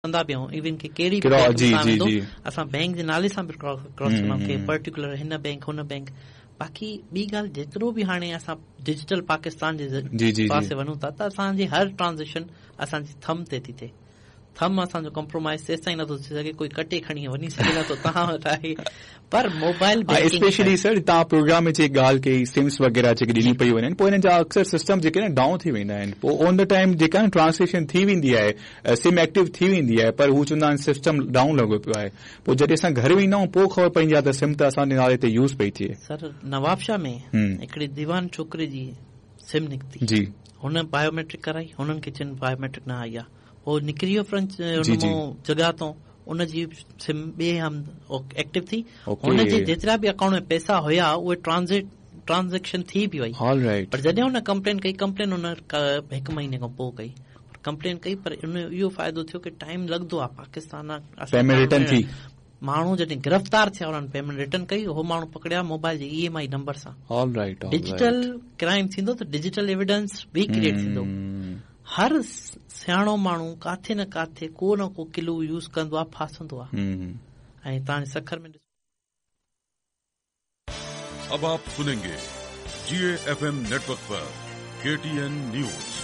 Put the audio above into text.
ڪندا به آهيون ايون ڪي ڪهڙي به بينڪ ۾ ويندو اسان بينڪ جي نالي سان به ڪراس ڪندا آهيون ڪي پرٽيڪولر هن بينڪ هن بينڪ باقي ٻي ڳالهه جيترو به هاڻي اسان ڊجيٽل پاڪستان جي پاسي وڃون ٿا ته اسان جي هر ٽرانزيڪشن اسان جي ٿم تي ٿي ٿئي ٿم اسان جو ڪمپرومائز تيستائين نٿو ٿي سگهي ڪوئي ڪٽي کڻي وڃي سگهي نٿو توهان وٽ آهي پر موبائل بينڪنگ اسپيشلي سر توهان پروگرام ۾ جيڪي ڳالهه ڪئي سمس وغيره جيڪي ڏنيون پيون وڃن پوء انهن جا اڪثر سسٽم جيڪي آهن ڊائون ٿي ويندا آهن پوء آن the time جيڪا آهي ٽرانسليشن ٿي ويندي آهي سم ايڪٽو ٿي ويندي آهي پر هو چوندا آهن سسٽم ڊائون لڳو پيو آهي پوء جڏهن اسان گهر ويندا آهيون پوء خبر پوندي آهي ته سم ته اسان جي نالي تي يوز پئي ٿئي. سر نوابشاهه ۾ هڪڙي ديوان ڇوڪري جي سم نڪتي جي هن بايوميٽرڪ ڪرائي هنن کي چين بايوميٽرڪ نه آئي آهي هو نڪري ويو فرنچ ان مون جڳهه تون ان جي سم ٻئي هنڌ ايڪٽو ٿي هن جي جيترا به اڪائونٽ ۾ پئسا هيا اهي ٽرانزڪ ٽرانزيڪشن ٿي به وئي پر جڏهن هن ڪمپلين ڪئي ڪمپلين هن هڪ مهيني کان پوء ڪئي ڪمپلين ڪئي پر ان اهو فائدو ٿيو ڪي ٽائيم لڳندو آهي پاڪستان پيمينٽ ريٽرن ٿي ماڻهو جڏهن گرفتار ٿيا انهن پيمينٽ ريٽرن ڪئي هو ماڻهو پڪڙيا موبائل جي اي ايم I number سان آل رائيٽ ڊجيٽل ڪرائيم ٿيندو ته ڊجيٽل ايويڊنس به ڪريئيٽ ٿيندو هر سياڻو ماڻهو ڪاٿي نه ڪاٿي ڪو نه ڪو ڪلو يوز ڪندو آ ڦاسندو آ ۽ توهان سکر ۾ اب آپ سنينگي جي اي ايف ايم نيٽورڪ پر ڪي ٽي اين نيوز.